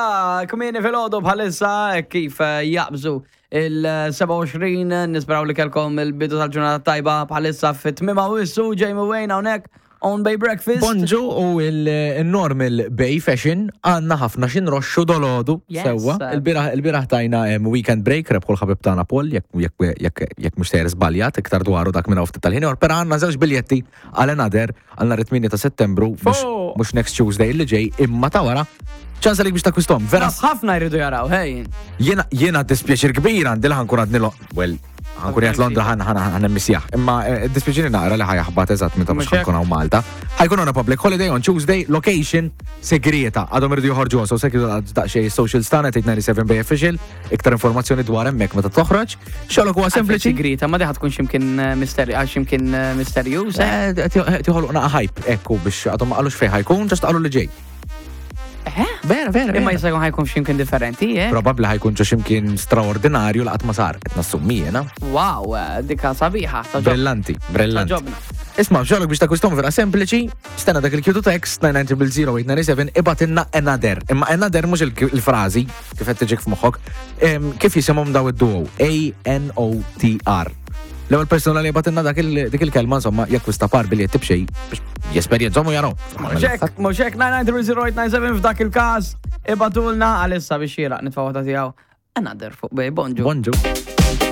Mela, kmieni filgħodu bħalissa kif eh, jaqbżu il-27 nisperaw li kelkom il-bidu tal-ġurnata tajba bħalissa fit-tmima u issu Jamie Wayne hawnhekk on Bay Breakfast. Bonġu u il-normal Bay Fashion għanna ħafna xinroxxu dolodu sewwa. Il-biraħ tajna weekend break rebħu l-ħabib tagħna Paul jekk mhux sejjer żbaljat iktar dwaru dak minn ftit tal-ħin ieħor, però għandna żewġ biljetti għal another għal nhar it-8 ta' Settembru mhux next Tuesday li ġej imma ta' wara. Ċans għalik biex takkwistom. Vera. Ħafna jridu jaraw, hej. Jiena jiena dispjaċir kbir għandi li ħankun għadni well, ħankun jgħat Londra ħan ħan ħan missjaħ. Imma eh, dispjaċiri naqra li ħajaħbat eżatt meta mhux ħankun hawn Malta. Ħajkun on a public holiday on Tuesday, location segreta. Għadhom irridu joħorġu so sekk daqsxejn social stana 897 Bay Official, iktar informazzjoni dwar hemmhekk meta toħroġ. Xogħlok huwa sempliċi. Segreta, ma diħa tkun x'imkien eh, misteri għax x'imkien eh, misterjuż. Eh? Tiħolqna hype ekku biex għadhom ma qalux fejn ħajkun, ġast qalu li ġej. Eh? Vera, vera. Imma jista' jkun ħajkun x'imkien differenti, eh? Probabbli ħajkun ġo x'imkien straordinarju laqat ma sar, qed nassummi jiena. Wow, dika sabiħa. Brillanti, brillanti. Isma' xogħlok biex takwistom vera sempliċi, stenna dak il-Q text 9900897 ibatinna another. Imma another mhux il-frażi kif qed tiġik f'moħħok, kif jisimhom daw id-duo A-N-O-T-R. L-ewwel persuna li batinna dak dik il-kelma insomma jakkwista par biljetti b'xejn biex jesperjenzhom u jaraw. Mhux mhux hekk 9930897 f'dak il-każ ibatulna għalissa biex xieraq nitfa' waħda tiegħu. Another fuq bej, bonġu. Bonġu.